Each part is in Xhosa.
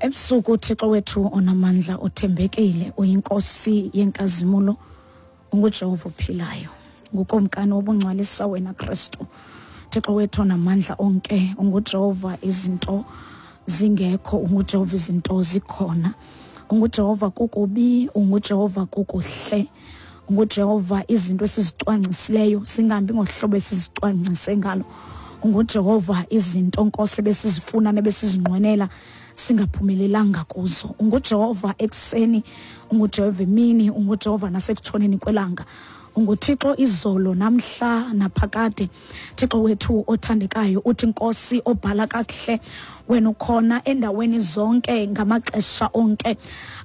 Ebusuku, uThixo wethu onamandla uthembekile, uyiNkosi yenkazimulo, unguJehova ophilayo, nguKumkani wobungcwalisa wena Kristu. Thixo wethu onamandla onke, unguJehova izinto zingekho, unguJehova izinto zikhona, unguJehova kukubi, unguJehova kukuhle, unguJehova izinto esizicwangcisileyo singahambi ngohlobo esizicwangcise ngalo, unguJehova izinto Nkosi besizifuna nebesizinqwenela singaphumelelanga kuzo, unguJehova ekuseni, unguJehova emini, unguJehova nasekutshoneni kwelanga, unguThixo izolo namhla naphakade. Thixo wethu othandekayo, uthi Nkosi obhala kakuhle, wena ukhona endaweni zonke ngamaxesha onke.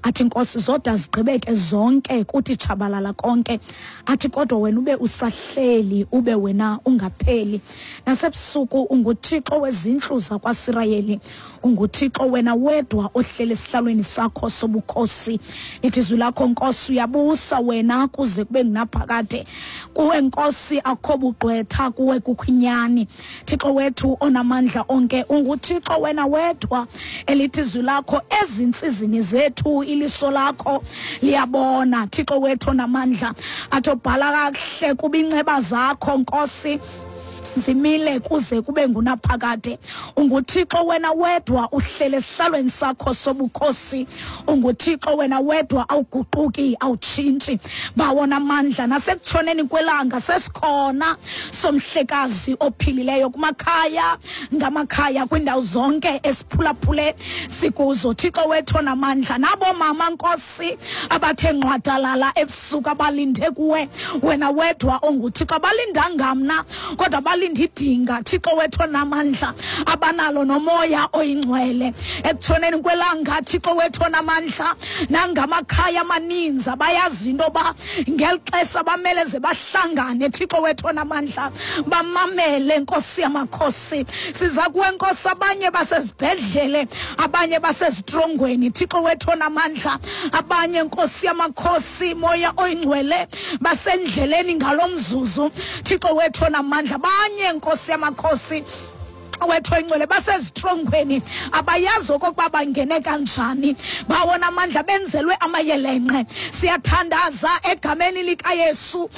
Athi Nkosi zoda zigqibeke zonke, kuthi tshabalala konke, athi kodwa wena ube usahleli, ube wena ungapheli. Nasebusuku unguThixo wezintlu zakwaSirayeli, unguThixo wena wedwa ohleli esihlalweni sakho sobukhosi. Lithi izwi lakho Nkosi, uyabusa wena kuze kube ngunaphakade. Kuwe Nkosi akho bugqwetha, kuwe kukho inyani. Thixo wethu onamandla onke, unguThixo wena wedwa elithi izwi lakho ezintsizini zethu iliso lakho liyabona. Thixo wethu onamandla, athi obhala kakuhle kuba inceba zakho Nkosi zimile kuze kube ngunaphakade. UnguThixo wena wedwa uhlele esihlalweni sakho sobukhosi, unguThixo wena wedwa awuguquki, awutshintshi. Bawona amandla, nasekutshoneni kwelanga sesikhona somhlekazi ophilileyo kumakhaya ngamakhaya, kwindawo zonke esiphulaphule sikuzo. Thixo wethu onamandla, nabo mama Nkosi abathe nqwadalala ebusuku abalinde kuwe wena wedwa onguThixo, abalindanga mna kodwa balinde idinga. Thixo wethu onamandla, abanalo nomoya oyingcwele ekutshoneni kwelanga. Thixo wethu onamandla, nangamakhaya amaninzi abayazi into yoba ngeli xesha bamele ze bahlangane. Thixo wethu onamandla, bamamele Nkosi yamakhosi. Siza kuwe Nkosi, abanye basezibhedlele, abanye basezitrongweni. Thixo wethu onamandla, abanye Nkosi yamakhosi, moya oyingcwele, basendleleni ngalo mzuzu. Thixo wethu onamandla, abanye Nkosi yamakhosi wethu oyingcwele basezitrongweni, abayazi okokuba bangene kanjani. Bawona amandla, benzelwe amayelenqe. Siyathandaza egameni likaYesu.